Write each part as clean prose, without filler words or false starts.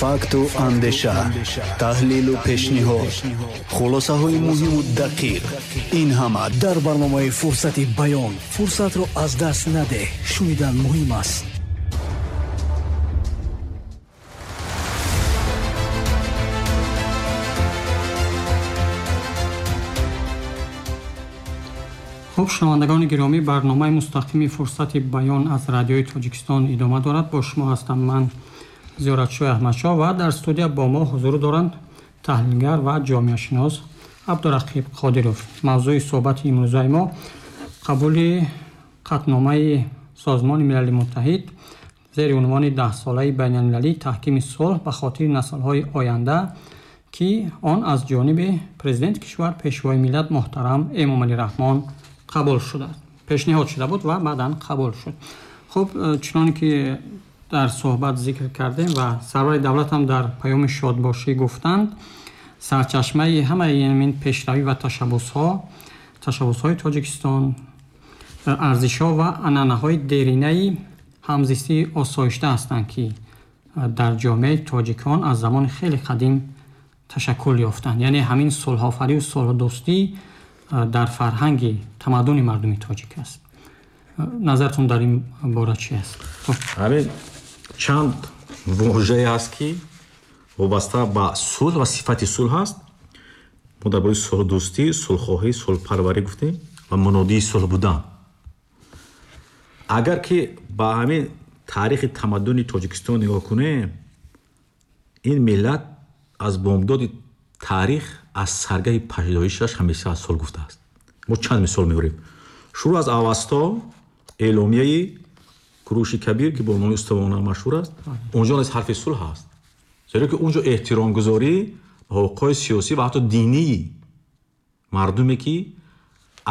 Факту андеша, таҳлилу пешниҳод, хулосаҳои муҳиму дақиқ, ин ҳама дар барномаи «Фурсати баён». Фурсатро аз даст надеҳ, шунидан муҳим аст. Хуб, шунавандагони гиромӣ, барномаи мустақими «Фурсати баён» аз Радиои Тоҷикистон идома дорад. Бо шумо ҳастам ман, Зиёратшоҳи Аҳмадшоҳ, ва дар студия бо мо ҳузур доранд таҳлилгар ва ҷомеашинос Абдурақиб Қодиров. Мавзӯи суҳбати имрӯзаи мо қабули қатъномаи Созмони Милали Муттаҳид зери унвони даҳсолаи байналмилалии таҳкими сулҳ ба хотири наслҳои оянда, ки он аз ҷониби президенти кишвар, пешвои миллат муҳтарам Эмомалӣ Раҳмон қабул шуда, пешниҳод шуда буд ва баъдан қабул шуд. Хуб, чуноне ки дар суҳбат зикр кардем ва сарвари давлат ҳам дар паёми шодбошӣ гуфтанд, сарчашмаи ҳамаи ин пешравӣ ва ташаббусҳои Тоҷикистон арзишҳо ва анъанаҳои деринаи ҳамзистии осоишта ҳастанд, ки дар ҷомеаи тоҷикон аз замони хеле қадим ташаккул ёфтанд. Яъне ҳамин сулҳофарию сулҳдӯстӣ дар фарҳанги тамаддуни мардуми тоҷик аст. Назаратон дар ин бора чи аст? Ҳамин чанд вожае ҳаст, ки вобаста ба сулҳ ва сифати сулҳ ҳаст. Мо дар бораи сулҳдӯстӣ, сулҳхоҳӣ, сулҳпарварӣ гуфтем ва мунодии сулҳ будан. Агар ки ба ҳамин таърихи тамаддуни Тоҷикистон нигоҳ кунем, ин миллат аз бомдоди таърих, аз саргаҳи пайдоишаш ҳамеша аз сулҳ гуфтааст. Мо чанд мисол меорем. Шурӯъ аз Авасто, эъломияи Куруши Кабир, ки бо номи Устувона машҳур аст, онҷо низ ҳарфи сулҳ ҳаст, зеро ки онҷо эҳтиромгузорӣ ба ҳуқуқҳои сиёсӣ ва ҳатто динии мардуме, ки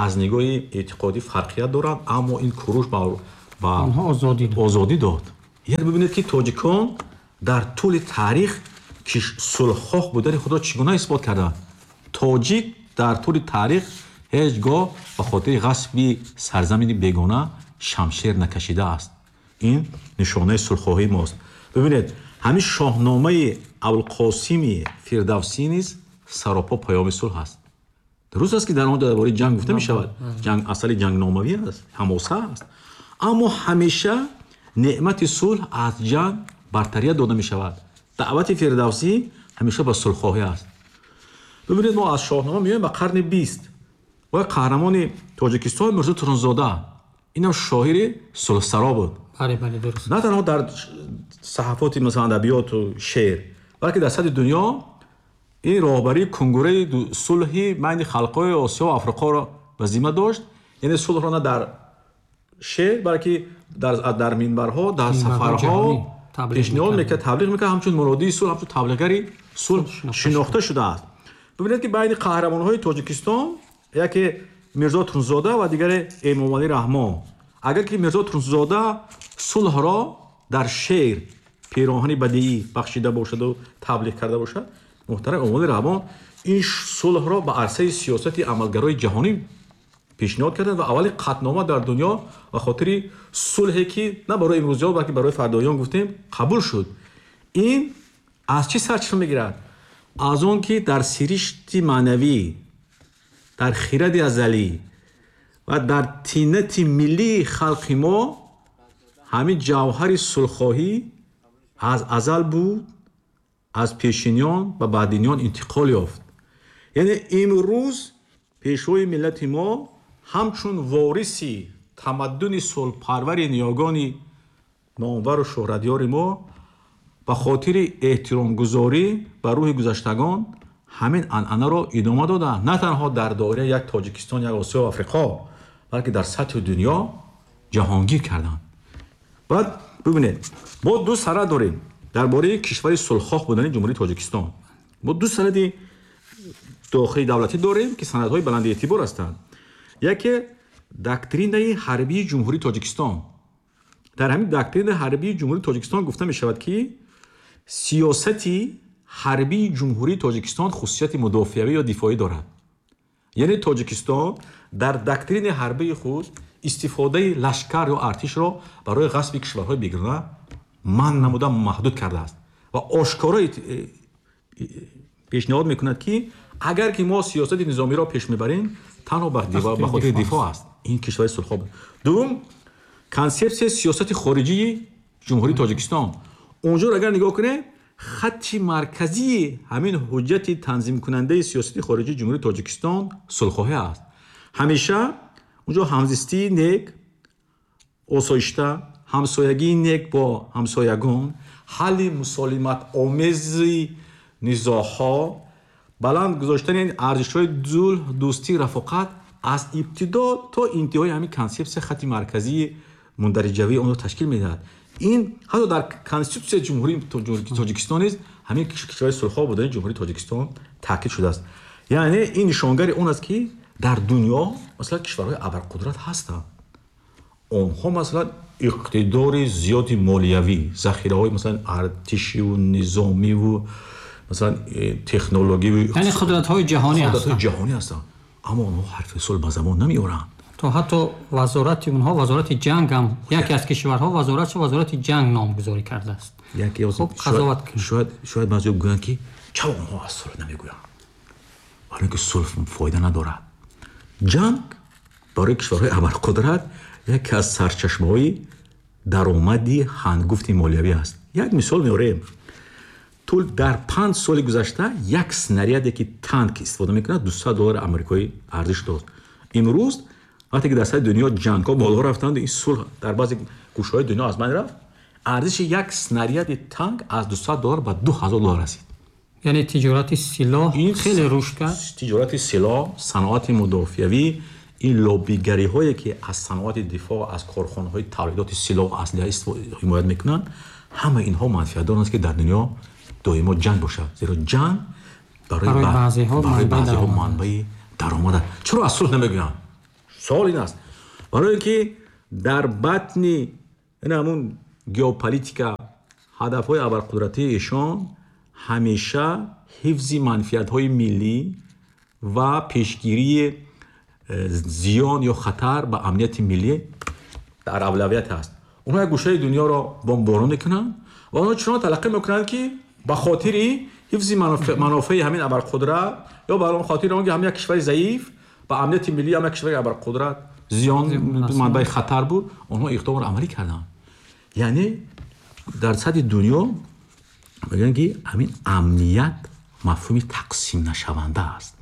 аз нигоҳи эътиқодӣ фарқият доранд, аммо ин Куруш ба онҳо озодӣ дод. Яъне бибинед, ки тоҷикон дар тӯли таърих ки сулҳхоҳ будани худро чӣ гуна исбот карданд. Тоҷик дар тӯли таърих ҳеҷ гоҳ ба хотири ғасби сарзамини бегона шамшер накашидааст. Ин нишонаи сулҳхоҳии мост. Бибинед, ҳамин Шоҳномаи Абулқосими Фирдавсӣ низ саропо паёми сулҳ аст. Дуруст аст, ки дар он дар бораи ҷанг гуфта мешавад, ҷанг асари ҷангномавӣ аст, ҳамоса аст, аммо ҳамеша неъмати сулҳ аз ҷанг бартарият дода мешавад. Даъвати Фирдавсӣ ҳамеша ба сулҳхоҳӣ аст. Бибинед, мо аз Шоҳнома меоем ба қарни 20. Ва қаҳрамони Тоҷикистон Мирзо Турсунзода, инам шоири сулҳсаро буд. На танҳо дар саҳафоти масалан адабиёту шеър, балки дар сатҳи дунё ин роҳбарии кунгураи сулҳи байни халқҳои Осиё ва Африқоро ба зимма дошт. Яъне сулҳро на дар шеър, балки дар минбарҳо, дар сафарҳо пешниҳод мекард, таблиғ мекард, ҳамчун муродии сулҳ, ҳамчун таблиғгари сулҳ шинохта шудааст. Бибинед, ки байни қаҳрамонҳои Тоҷикистон яке Мирзо Турсунзода ва дигаре Эмомалӣ Раҳмон. Агар ки Мирзо Турсунзода сулҳро дар шеър пироҳани бадиӣ бахшида бошаду таблиғ карда бошад, муҳтарам Эмомалӣ Раҳмон ин сулҳро ба арсаи сиёсати амалгарои ҷаҳонӣ пешниҳод карданд ва аввалин қатънома дар дунё ба хотири сулҳе, ки на барои имрӯзиён, балки барои фардоён гуфтем, қабул шуд. Ин аз чӣ сарчашма мегирад? Аз он ки дар сиришти маънавӣ, дар хиради азалӣ ва дар тинати миллии халқи мо ҳамин ҷавҳари сулҳхоҳӣ аз азал буд, аз пешиниён ба баъдиниён интиқол ёфт. Яъне имрӯз пешвои миллати мо ҳамчун вориси тамаддуни сулҳпарвари ниёгони номвару шӯҳратёри мо ба хотири эҳтиромгузорӣ ба рӯҳи гузаштагон ҳамин анъанаро идома дода, на танҳо дар доираи як Тоҷикистон, як Осиё ва Африқо, балки дар сатҳи дунё ҷаҳонгир карданд. Баъд бибинед, мо ду санад дорем дар бораи кишвари сулҳхоҳ будани Ҷумҳурии Тоҷикистон. Мо ду санади дохили давлатӣ дорем, ки санадҳои баланди эътибор ҳастанд. Яке доктринаи ҳарбии Ҷумҳурии Тоҷикистон. Дар ҳамин доктринаи ҳарбии Ҷумҳурии Тоҷикистон гуфта мешавад, ки сиёсати ҳарбии Ҷумҳурии Тоҷикистон хусусияти мудофиавӣ ё дифоӣ дорад. Яъне Тоҷикистон дар доктринаи ҳарбии худ истифодаи лашкар ё артишро барои ғасби кишварҳои бегона манъ намуда, маҳдуд кардааст. ва ошкоро пешниҳод мекунад, ки агар ки мо сиёсати низомиро пеш мебарем, танҳо ба хотири дифоъ аст. Ин кишвари сулҳхоҳ буд. Дуввум, консепсияи сиёсати хориҷии Ҷумҳурии Тоҷикистон. Онҷоро агар нигоҳ кунем, хатти марказии ҳамин ҳуҷҷати танзимкунандаи сиёсати хориҷии Ҷумҳурии Тоҷикистон сулҳхоҳӣ аст. Ҳамеша онҷо ҳамзистии нек, осоишта, ҳамсоягии нек бо ҳамсоягон, ҳалли мусолиматомези низоъҳо, баланд гузоштани арзишҳои сулҳ, дӯстӣ, рафоқат аз ибтидо то интиҳои ҳамин консепсия хатти марказии мундариҷавии онро ташкил медиҳад. Ин ҳатто дар конститутсияи Ҷумҳурии Тоҷикистон низ ҳамин кишвари сулҳхоҳ будани Ҷумҳурии Тоҷикистон таъкид шудааст. Яъне ин нишонгари он аст, ки дар дунё масалан кишварҳои абарқудрат ҳастанд. Онҳо масалан иқтидори зиёди молиявӣ, захираҳои масалан артишиву низомиву масалан технологиву, яъне қудратҳои ҷаҳонӣ ҳастанд. Ҷаҳонӣ ҳастанд, аммо онҳо ҳарфи сулҳ ба забон намеоранд. То ҳатто вазорати онҳо, вазорати ҷанг ҳам, яке аз кишварҳо вазоратшо вазорати ҷанг номгузорӣ кардааст. Хуб, қазоват кунед. Шояд баъзеҳо гӯянд, ки чаро онҳо аз сулҳ намегӯянд? Барои инки сулҳ фоида надорад. Ҷанг барои кишварҳои абарқудрат яке аз сарчашмаҳои даромади ҳангуфти молиявӣ аст. Як мисол меорем. Тул дар 5 соли гузашта як снаряде, ки танк истифода мекунад, 200 доллари амрикоӣ арзиш дошт. Имрӯз вақте ки дар сатҳи дунё ҷангҳо боло рафтанд, ин сулҳ дар баъзе гӯшаҳои дунё аз байн рафт, арзиши як снаряди танк аз 200 доллар ба 2000 доллар расид. Яъне тиҷорати силоҳ хеле рушд кард. Тиҷорати силоҳ, саноати мудофиавӣ, ин лоббигариҳое, ки аз саноати дифоъ, аз корхонаҳои тавлидоти силоҳ, аслиҳа ҳимоят мекунанд, ҳама инҳо манфиат доранд, ки дар дунё доимо ҷанг бошад. Зеро ҷанг барои баъзеҳо манбаи даромад аст. Чаро аз сулҳ намегӯянд? Савол ин аст. Барои ин ки дар батни ҳамун геополитика ҳадафҳои абарқудратии эшон ҳамеша ҳифзи манфиатҳои миллӣ ва пешгирии зиён ё хатар ба амнияти миллӣ дар авлавият аст. Онҳо як гӯшаи дунёро бомборон мекунанд ва онҳо чунон талаққӣ мекунанд, ки ба хотири ҳифзи манофеи ҳамин абарқудрат ё ба хотири он ки ҳамин як кишвари заиф ба амнияти миллӣ ҳам як кишвари абарқудрат зиён, манбаи хатар буд, онҳо иқдомро амалӣ карданд. Яъне дар сатҳи дунё мегӯянд, ки ҳамин амният мафҳуми тақсимнашаванда аст.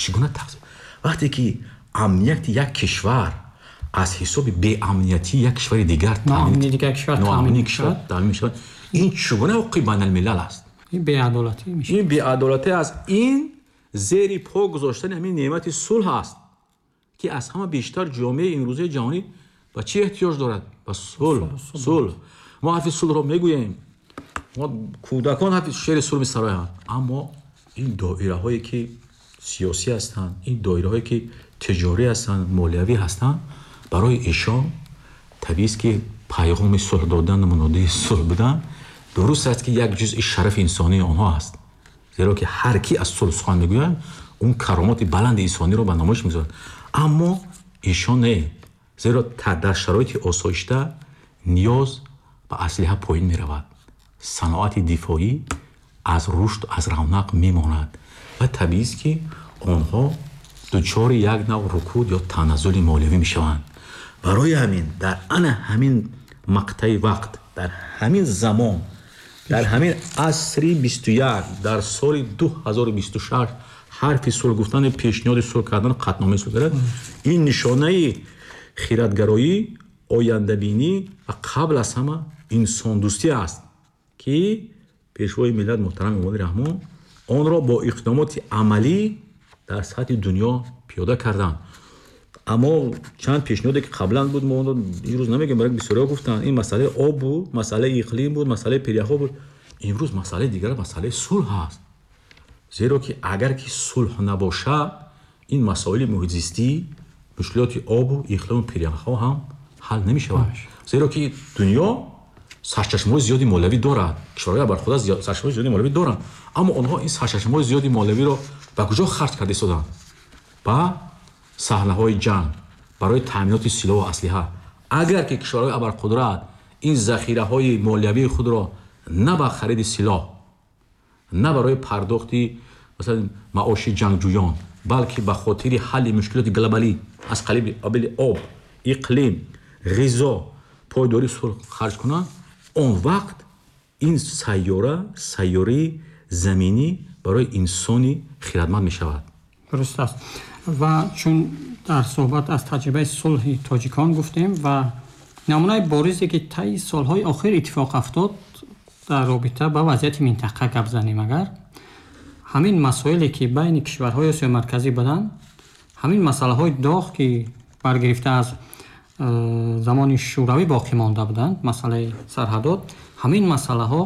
Чӣ гуна тақсим? Вақте ки амнияти як кишвар аз ҳисоби беамниятии як кишвари дигар ноамнии кишвар таъмин мешавад, ин чӣ гуна ҳуқуқи байналмилал аст? Ин беадолатӣ мешавад. Ин беадолатӣ аст. Ин зери по гузоштани ҳамин неъмати сулҳ аст, ки аз ҳама бештар ҷомеаи имрӯзаи ҷаҳонӣ ба чӣ эҳтиёҷ дорад? Ба сулҳ. Сулҳ. Мо ҳарфи сулҳро мегӯем, мо кӯдакон ҳарфи шеъри сулҳ месароянд, аммо ин доираҳое ки сиёсӣ ҳастанд, ин доираҳое ки тиҷорӣ ҳастанд, молиявӣ ҳастанд, барои эшон табиист, ки пайғоми сулҳ додан, мунодии сулҳ будан дуруст аст, ки як ҷузъи шарафи инсонии онҳо аст. Зеро ки ҳар ки аз сулҳ сухан мегӯяд, он каромоти баланди инсониро ба намоиш мегузорад. Аммо эшон не, зеро дар шароити осоишта ниёз ба аслиҳа поин меравад. Саноати дифоӣ аз рушд, аз равнақ мемонад ва табиист, ки онҳо дучори як нав рукуд ё таназзули молиявӣ мешаванд. Барои ҳамин дар ана ҳамин мақтаи вақт, дар ҳамин замон, дар ҳамин асри 21, дар соли 2026 ҳарфи сулҳ гуфтан, пешниҳоди сулҳ кардан, қатъномаи сулҳ кардан, ин нишонаи хиратгароӣ, ояндабинӣ ва қабл аз ҳама инсондӯстӣ аст, ки пешвои миллат муҳтарам Эмомалӣ Раҳмон онро бо иқдомоти амалӣ дар сатҳи дунё пиёда карданд. Аммо чанд пешниҳоде ки қаблан буд, мо онро имрӯз намегӯем, барои бисёриҳо гуфтанд. Ин масъалаи об буд, масъалаи иқлим буд, масъалаи пиряхҳо буд. Имрӯз масъалаи дигар масъалаи сулҳ аст. Зеро ки агар ки сулҳ набошад, ин масоили муҳитзистӣ, мушкилоти обу иқлиму пиряхҳо ҳам ҳал намешавад. Зеро ки дунё сарчашмаҳои зиёди молиявӣ дорад, кишварҳои абарқудрат сарчашмаҳои зиёди молиявӣ доранд, аммо онҳо ин сарчашмаҳои зиёди молиявиро ба куҷо харҷ карда истоданд? Ба саҳнаҳои ҷанг, барои таъминоти силоҳу аслиҳа. Агар ки кишварҳои абарқудрат ин захираҳои молиявии худро на ба хариди силоҳ, на барои пардохти масалан маоши ҷангҷӯён, балки ба хотири ҳалли мушкилоти глобалӣ аз қабили об, иқлим, ғизо, пойдории сулҳ харҷ кунанд, он вақт ин сайёра, сайёраи заминӣ барои инсони хирадманд мешавад. Дуруст аст. Ва чун дар суҳбат аз таҷрибаи сулҳи тоҷикон гуфтем ва намунаи боризе ки таи солҳои охир иттифоқ афтод дар робита ба вазъияти минтақа гап занем, агар ҳамин масоиле ки байни кишварҳои Осиёи Марказӣ буданд, ҳамин масъалаҳои доғ ки баргирифта аз замони Шӯравӣ боқӣ монда буданд, масъалаи сарҳадот, ҳамин масъалаҳо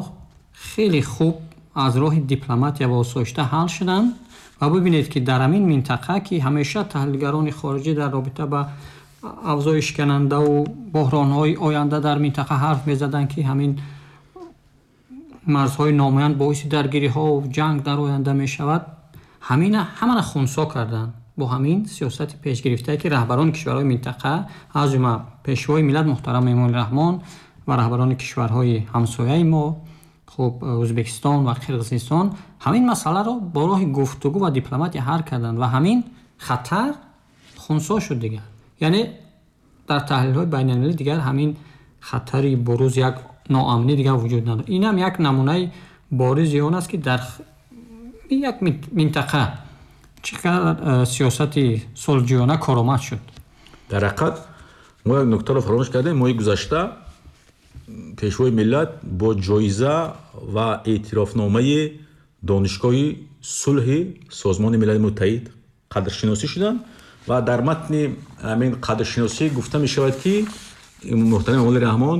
хеле хуб аз роҳи дипломатия ва осоишта ҳал шуданд. Ва бибинед ки дар ҳамин минтақа ки ҳамеша таҳлилгарони хориҷӣ дар робита ба авзои шиканандаву буҳронҳои оянда дар минтақа ҳарф мезаданд, ки ҳамин марзҳои номуайян боиси даргириҳову ҷанг дар оянда мешавад, ҳамина ҳамаро хунсо карданд бо ҳамин сиёсати пешгирифтае ки раҳбарони кишварҳои минтақа, аз ҷумла пешвои миллат муҳтарам Эмомалӣ Раҳмон ва раҳбарони кишварҳои ҳамсояи мо, хуб, Ӯзбекистон ва Қирғизистон, ҳамин масъаларо бо роҳи гуфтугӯ ва дипломатия ҳал карданд ва ҳамин хатар хунсо шуд дигар. Яъне дар таҳлилҳои байналмилалӣ дигар ҳамин хатари буруз як ноамнӣ дигар вуҷуд надорад. Инам як намунаи боризи он аст ки дар як минтақа чӣ қадар сиёсати сулҳҷӯёна коромад шуд. Дар ҳақиқат мо як нуктаро фаромӯш кардем. Моҳи гузашта пешвои миллат бо ҷоиза ва эътирофномаи Донишгоҳи сулҳи Созмони Милали Муттаҳид қадршиносӣ шуданд ва дар матни ҳамин қадршиносӣ гуфта мешавад, ки муҳтарам Эмомалӣ Раҳмон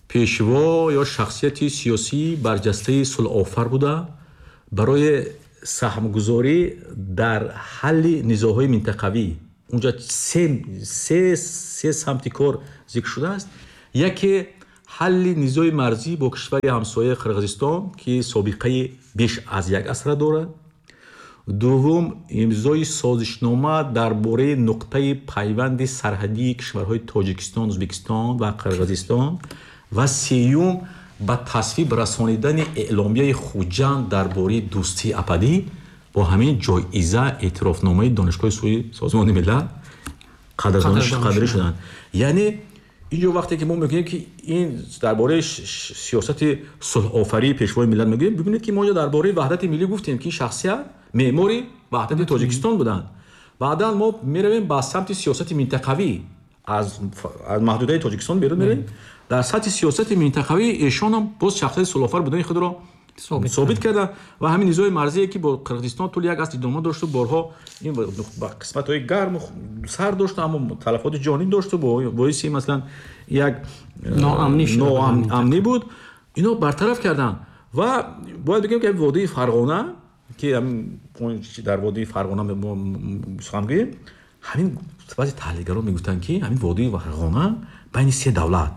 пешво ё шахсияти сиёсии барҷастаи сулҳофар буда, барои саҳмгузорӣ дар ҳалли низоъҳои минтақавӣ унҷа се самти кор зикр шудааст. Яке ҳалли низои марзӣ бо кишвари ҳамсояи Қирғизистон, ки собиқаи беш аз як асра дорад. Дуввум, имзои созишнома дар бораи нуқтаи пайванди сарҳадии кишварҳои Тоҷикистон, Ӯзбекистон ва Қирғизистон. Ва сеюм, ба тасвиб расонидани эъломияи Хуҷанд дар бораи дӯстии абадӣ. Бо ҳамин ҷоиза эътирофномаи Донишгоҳи сулҳи Созмони Милал қадрдонӣ шуданд. Яъне инҷо вақте ки мо мегӯем ки ин дар бораи сиёсати сулҳофарии пешвои миллат мегӯем, бибинед ки мо инҷо дар бораи ваҳдати миллӣ гуфтем, ки ин шахсият меъмори ваҳдати Тоҷикистон буданд. Баъдан мо меравем ба самти сиёсати минтақавӣ, аз маҳдудаи Тоҷикистон берун меравем. Дар сатҳи сиёсати минтақавӣ эшонам боз шахсияти сулҳофар будани худро собит карданд ва ҳамин низои марзие ки бо Қирғизистон тӯли як аср идома дошту, борҳо ин ба қисматҳои гарму сар дошт, аммо талафоти ҷонӣ дошту, боиси масалан як ноамнӣ буд, ино бартараф карданд. Ва бояд бигӯем ки водии Фарғона, ки дар водии Фарғона мо сухан гӯем, ҳамин баъзе таҳлилгарон мегуфтанд, ки ҳамин водии Фарғона байни се давлат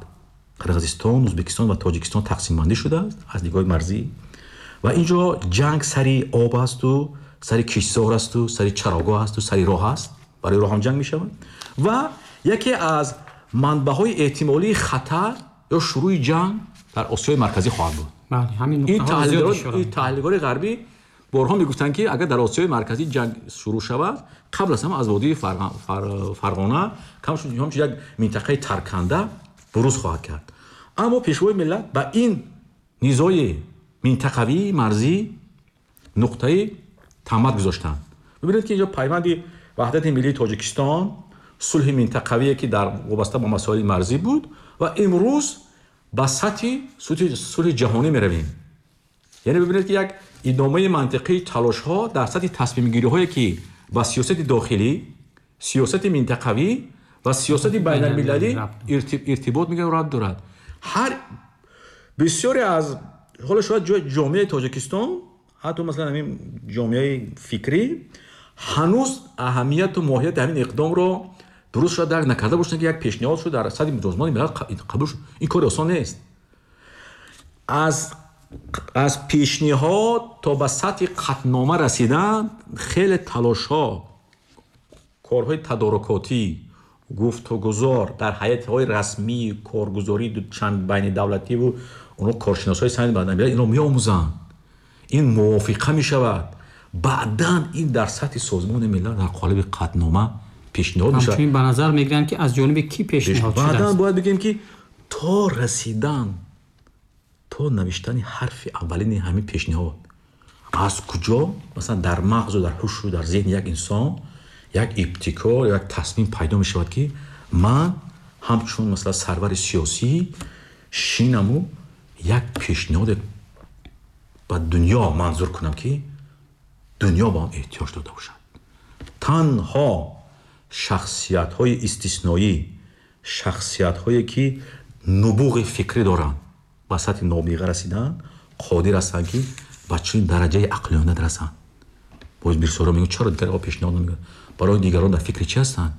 Қирғизистон, Ӯзбекистон ва Тоҷикистон тақсимбандӣ шудааст аз нигоҳи марзӣ ва инҷо ҷанг сари об асту, сари киштзор асту, сари чарогоҳ асту, сари роҳ аст, барои роҳ ҳам ҷанг мешавад. Ва яке аз манбаъҳои эҳтимолии хатар ё шурӯи ҷанг дар Осиёи Марказӣ хоҳад буд. Ин таҳлилгарони ғарбӣ борҳо мегуфтанд, ки агар дар Осиёи Марказӣ ҷанг шурӯъ шавад, қабл аз ҳама аз водии Фарғона ҳамчун як минтақаи тарканда буруз хоҳад кард. Аммо пешвои миллат ба ин низои минтақавии марзӣ нуқтаи тамад гузоштанд. Бибинед, ки инҷо пайванди ваҳдати миллии Тоҷикистон, сулҳи минтақавие ки дар вобаста ба масоили марзӣ буд, ва имрӯз ба сатҳи сулҳи ҷаҳонӣ меравем. Яъне бибинед, ки як идомаи мантиқии талошҳо дар сатҳи тасмимгириҳое ки ба сиёсати дохилӣ, сиёсати минтақавӣ ва сиёсати байналмилалӣ иртибот мегирад, рабт дорад. Ҳар бисёре аз ҳоло шояд ҷомеаи Тоҷикистон, ҳатто масалан ҳамин ҷомеаи фикрӣ ҳанӯз аҳамияту моҳияти ҳамин иқдомро дуруст шояд дарк накарда бошанд, ки як пешниҳод шуд дар сатҳи Созмони Милал қабул шуд. Ин кори осон нест. Аз пешниҳод то ба сатҳи қатънома расидан хеле талошҳо, корҳои тадорукотӣ, гуфтугузор дар ҳайатҳои расмии коргузории чанд байнидавлативу онҳо коршиносҳои самти байналмилал инро меомӯзанд. Ин мувофиқа мешавад. Баъдан ин дар сатҳи Созмони Милал дар қолаби қатънома пешниҳод мешавад. Ҳамчунин ба назар мегиранд, ки аз ҷониби кӣ пешниҳод шудааст. Баъдан бояд бигӯем, ки то расидан, то навиштани ҳарфи аввалини ҳамин пешниҳод аз куҷо, масалан, дар мағзу дар ҳушу дар зеҳни як инсон як ибтикор, як тасмим пайдо мешавад, ки ман ҳамчун, масалан, сарвари сиёсӣ шинаму як пешниҳоде ба дунё манзур кунам, ки дунё ба он эҳтиёҷ дода бошад. Танҳо шахсиятҳои истисноӣ, шахсиятҳое ки нубуғи фикрӣ доранд, ба сатҳи нобиға расиданд, қодир ҳастанд, ки ба чунин дараҷаи ақлиёна расанд. Боз бисёро мегӯянд, чаро дигарҳо пешниҳод намекунанд? Барои дигарон дар фикри чӣ ҳастанд?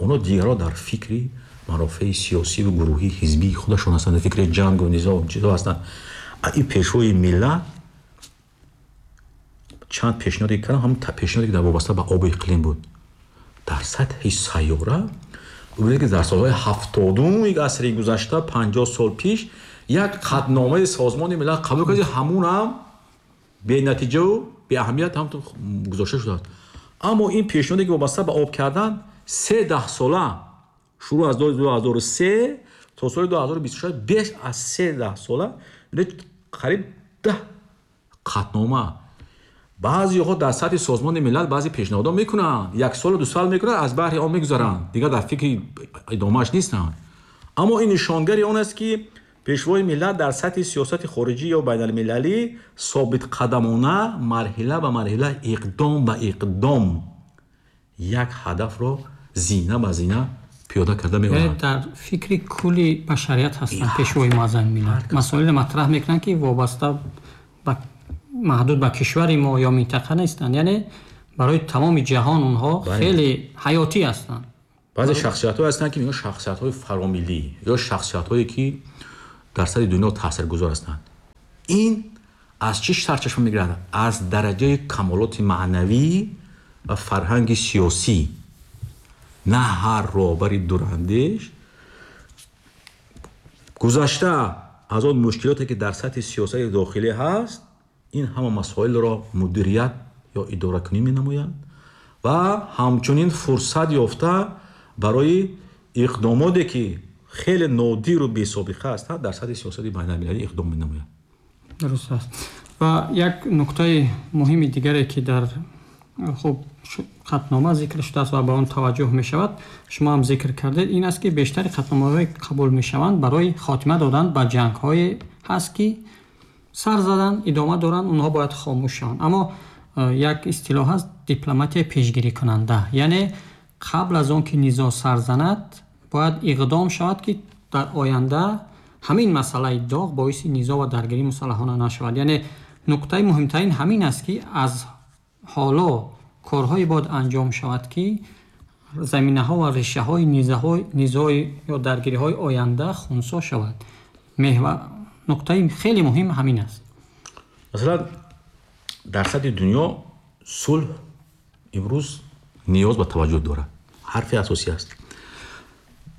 Онҳо дигарҳо дар фикри марофеи сиёсиву гурӯҳии ҳизбии худашон ҳастанд, дар фикри ҷангу низоъ чизо ҳастанд. Ин пешвои миллат чанд пешниҳоде кардам, ҳамон пешниҳоде ки дар вобаста ба обу иқлим буд. Дар сатҳи сайёра бубинед, ки дар солҳои 70-уми асри гузашта, 50 сол пеш, як қатъномаи Созмони Милал қабул кард, ҳамунам бенатиҷаву беаҳамият ҳам гузошта шудааст. Аммо ин пешниҳоде ки вобаста ба об кардан, се даҳсола, шурӯъ аз 2003 то соли 2026, беш аз се даҳсола, қариб 10 қатънома. Баъзеҳо дар сатҳи Созмони Милал баъзе пешниҳодҳо мекунанд, як солу ду сол мекунанд, аз баҳри он мегузаранд, дигар дар фикри идомааш нестанд. Аммо ин нишонгари он аст, ки пешвои миллат дар сатҳи сиёсати хориҷӣ ё байналмилалӣ собитқадамона, марҳила ба марҳила, иқдом ба иқдом як ҳадафро зина ба зина пиёда карда меорад. Дар фикри кулли башарият ҳастанд пешвои муаззами миллат. Масоилро матраҳ мекунанд, ки вобаста ба маҳдуд ба кишвари мо ё минтақа нестанд, яъне барои тамоми ҷаҳон онҳо хеле ҳаётӣ ҳастанд. Баъзе шахсиятҳое ҳастанд, ки мегӯянд шахсиятҳои фаромиллӣ ё шахсиятҳое ки дар сатҳи дунё таъсиргузор ҳастанд. Ин аз чӣ сарчашма мегирад? Аз дараҷаи камолоти маънавӣ ва фарҳанги сиёсӣ. На ҳар роҳбари дурандеш гузашта аз он мушкилоте ки дар сатҳи сиёсати дохилӣ ҳаст, ин ҳама масоилро мудирият ё идоракунӣ менамоянд ва ҳамчунин фурсат ёфта барои иқдомоте ки хеле нодиру бесобиқа ҳастанд, дар сатҳи сиёсати байналмилалӣ иқдом менамоянд. Дуруст аст. Ва як нуктаи муҳими дигаре, ки дар хуб қатънома зикр шудааст ва ба он таваҷҷӯҳ мешавад, шумо ҳам зикр кардед, ин аст, ки бештари қатъномаҳое қабул мешаванд барои хотима додан ба ҷангҳое ҳаст, ки сар задан идома доранд, онҳо бояд хомӯш шаванд. Аммо як истилоҳ ҳаст, дипломатияи пешгирикунанда, яъне қабл аз он ки низоъ сар занад, бояд иқдом шавад, ки дар оянда ҳамин масъалаи доғ боиси низоъ ва даргирии мусаллаҳона нашавад. Яъне нуктаи муҳимтарин ҳамин аст, ки аз ҳоло корҳое бояд анҷом шавад, ки заминаҳо ва решаҳои низоъ ё даргириҳои оянда хунсо шавад. Нуктаи хеле муҳим ҳамин аст. Масалан, дар сатҳи дунё сулҳ имрӯз ниёз ба таваҷҷӯҳ дорад, ҳарфи асосӣ аст.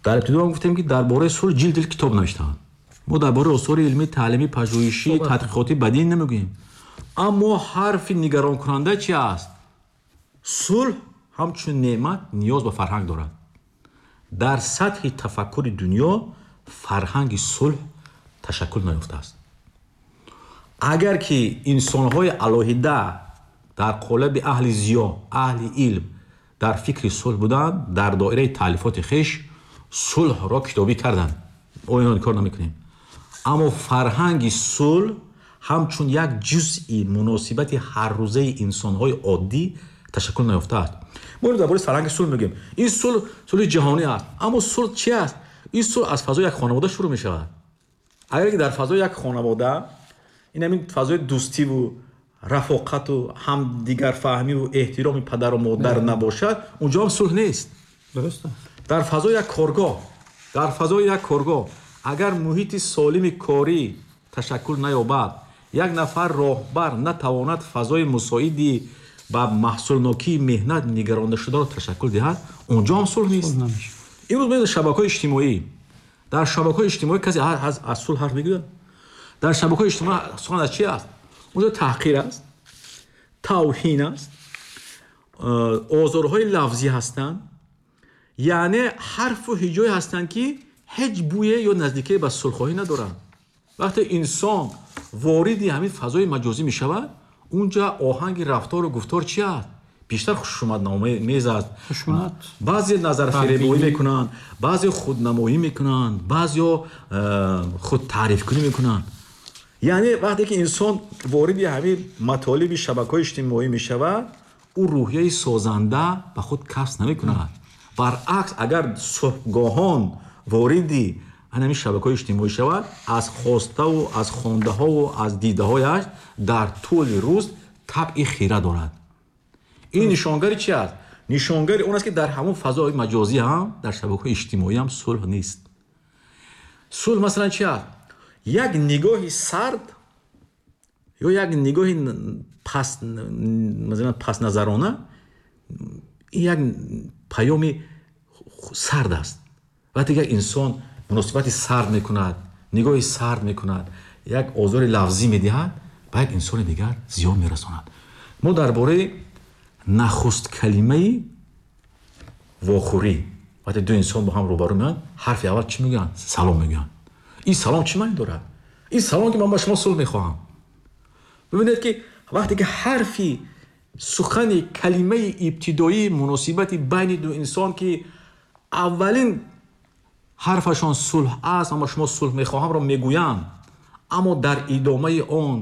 Дар ибтидо ҳам гуфтем, ки дар бораи сулҳ ҷилд ҷилд китоб навиштаанд. Мо дар бораи осори илмӣ, таълимӣ, пажӯҳишӣ, тадқиқотӣ бадин намегӯем. Аммо ҳарфи нигаронкунанда чи аст? Сулҳ ҳамчун неъмат ниёз ба фарҳанг дорад. Дар сатҳи тафаккури дунё фарҳанги сулҳ ташаккул наёфтааст. Агар ки инсонҳои алоҳида дар қолаби аҳли зиё, аҳли илм дар фикри сулҳ буданд, дар доираи таълифоти хеш сулҳро китобӣ карданд, мо инро инкор намекунем. Аммо фарҳанги сулҳ ҳамчун як ҷузъи муносибати ҳаррӯзаи инсонҳои оддӣ ташаккул наёфтааст. Мо дар бораи фарҳанги сулҳ мегӯем. Ин сулҳ сулҳи ҷаҳонӣ аст. Аммо сулҳ чи аст? Ин сулҳ аз фазои як хонавода шурӯъ мешавад. Агар ки дар фазои як хонавода ин ҳамин фазои дӯстиву рафоқату ҳамдигарфаҳмиву эҳтироми падару модар набошад, унҷо ҳам сулҳ нест. Дуруст. Дар фазои як коргоҳ, дар фазои як коргоҳ агар муҳити солими корӣ ташаккул наёбад, як нафар роҳбар натавонад фазои мусоиди ба маҳсулнокии меҳнат нигарондашударо ташаккул диҳад, унҷо ҳам сулҳ нест. Имрӯз мебинед шабакаҳои иҷтимоӣ. Дар шабакаҳои иҷтимоӣ касе аз сулҳ ҳарф мегӯяд? Дар шабакаҳои иҷтимоӣ сухан аз чи аст? Онҷо таҳқир аст, тавҳин аст, озорҳои лафзӣ ҳастанд, яъне ҳарфу ҳиҷое ҳастанд, ки ҳеҷ бӯе ё наздикие ба сулҳхоҳӣ надоранд. Вақте инсон вориди ҳамин фазои маҷозӣ мешавад, унҷа оҳанги рафтору гуфтор чи аст? Бештар хушуматномез аст, баъзе назарфиребоӣ мекунанд, баъзе худнамоӣ мекунанд, баъзеҳо худтаърифкунӣ мекунанд. Яъне вақте ки инсон вориди ҳамин матолиби шабакаҳои иҷтимоӣ мешавад, ӯ рӯҳияи созанда ба худ касб намекунад. Баръакс, агар субҳгоҳон вориди ҳамин шабакаҳои иҷтимоӣ шавад, аз хоставу аз хондаҳову аз дидаҳояш дар тӯли рӯз табъи хира дорад. Ин нишонгари чи аст? Нишонгари он аст, ки дар ҳамон фазои маҷозӣ ҳам, дар шабакаҳои иҷтимоӣ ҳам сулҳ нест. Сулҳ масалан чи аст? Як нигоҳи сард ё як нигоҳи масалан пастназарона, ин як паёми сард аст. Вақте як инсон муносибати сард мекунад, нигоҳи сард мекунад, як озори лафзӣ медиҳад, ба як инсони дигар зиён мерасонад. Мо дар бораи нахуст калимаи вохӯрӣ, вақте ду инсон бо ҳам рӯбарӯ меоянд, ҳарфи аввал чӣ мегӯянд? Салом мегӯянд. Ин салом чӣ маъни дорад? Ин салом, ки ман ба шумо сулҳ мехоҳам. Бибинед, ки вақте ки ҳарфи сухани калимаи ибтидоии муносибати байни ду инсон, ки аввалин ҳарфашон сулҳ аст, ман ба шумо сулҳ мехоҳамро мегӯянд, аммо дар идомаи он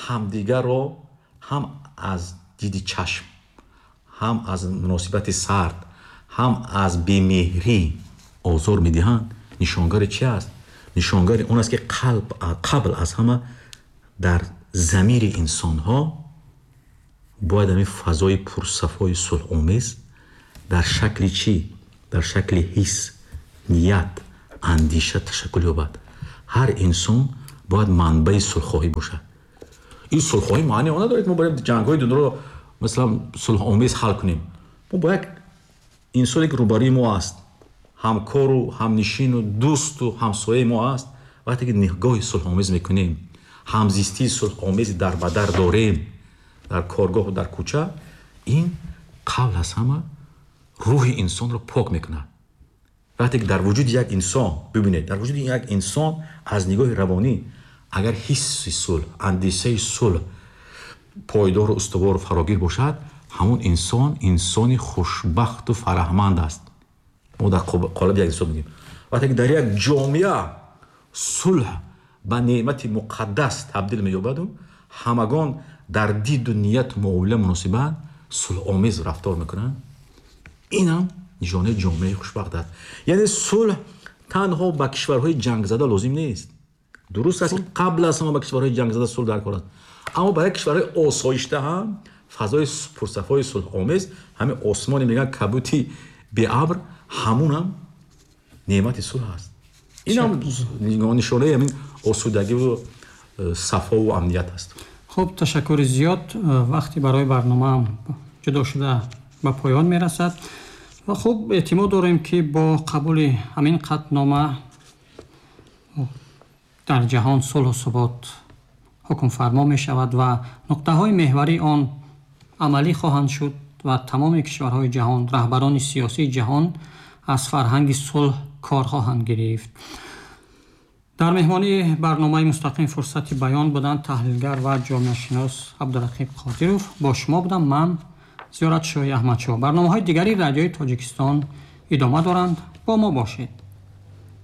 ҳамдигарро ҳам аз диди чашм, ҳам аз муносибати сард, ҳам аз бемеҳрӣ озор медиҳанд, нишонгари чи аст? Нишонгари он аст, ки қабл аз ҳама дар замири инсонҳо бояд ҳамин фазои пурсафои сулҳомез дар шакли чӣ? Дар шакли ҳис, ният, андеша ташаккул ёбад. Ҳар инсон бояд манбаи сулҳхоҳӣ бошад. Ин сулҳхоҳӣ маъне он надорад, мо бояд ҷангҳои дунёро масалан сулҳомез ҳал кунем. Мо бо як инсоне, ки рӯбарӯи мо аст, ҳамкору ҳамнишину дӯсту ҳамсояи мо аст, вақте ки нигоҳи сулҳомез мекунем, ҳамзистии сулҳомези дар ба дар дорем дар коргоҳу дар кӯча, ин қабл аз ҳама рӯҳи инсонро пок мекунад. Вақте ки дар вуҷуди як инсон, бибинед, дар вуҷуди як инсон аз нигоҳи равонӣ агар ҳисси сулҳ, андешаи сулҳ пойдору устувору фарогир бошад, ҳамон инсон инсони хушбахту фараҳманд аст. Мо дар қолаби як инсон мегӯем. Вақте ки дар як ҷомеа сулҳ ба неъмати муқаддас табдил меёбаду ҳамагон дар диду нияту муомила, муносибат сулҳомез рафтор мекунанд, инам нишонаи ҷомеаи хушбахт аст. Яъне сулҳ танҳо ба кишварҳои ҷангзада лозим нест. Дуруст аст, ки қабл аз ҳама ба кишварҳои ҷангзада сулҳ дар кор аст, аммо барои кишварҳои осоишта ҳам фазои пурсафои сулҳомез, ҳамин осмоне мегӯянд кабути беабр, ҳамунам неъмати сулҳ аст. Инам нишонаи ҳамин осудагиву сафову амният аст. Хуб, ташаккури зиёд. Вақти барои барномаам ҷудо шуда ба поён мерасад ва хуб, эътимод дорем, ки бо қабули ҳамин қатънома дар ҷаҳон сулҳу субот ҳукмфармо мешавад ва нуқтаҳои меҳварии он амалӣ хоҳанд шуд ва тамоми кишварҳои ҷаҳон, раҳбарони сиёсии ҷаҳон аз фарҳанги сулҳ кор хоҳанд гирифт. Дар меҳмонии барномаи мустақим «Фурсати баён» буданд таҳлилгар ва ҷомеашинос Абдурақиб Қодиров. Бо шумо будам ман, Зиёратшоҳи Аҳмадшоҳ. Барномаҳои дигари Радиои Тоҷикистон идома доранд. Бо мо бошед.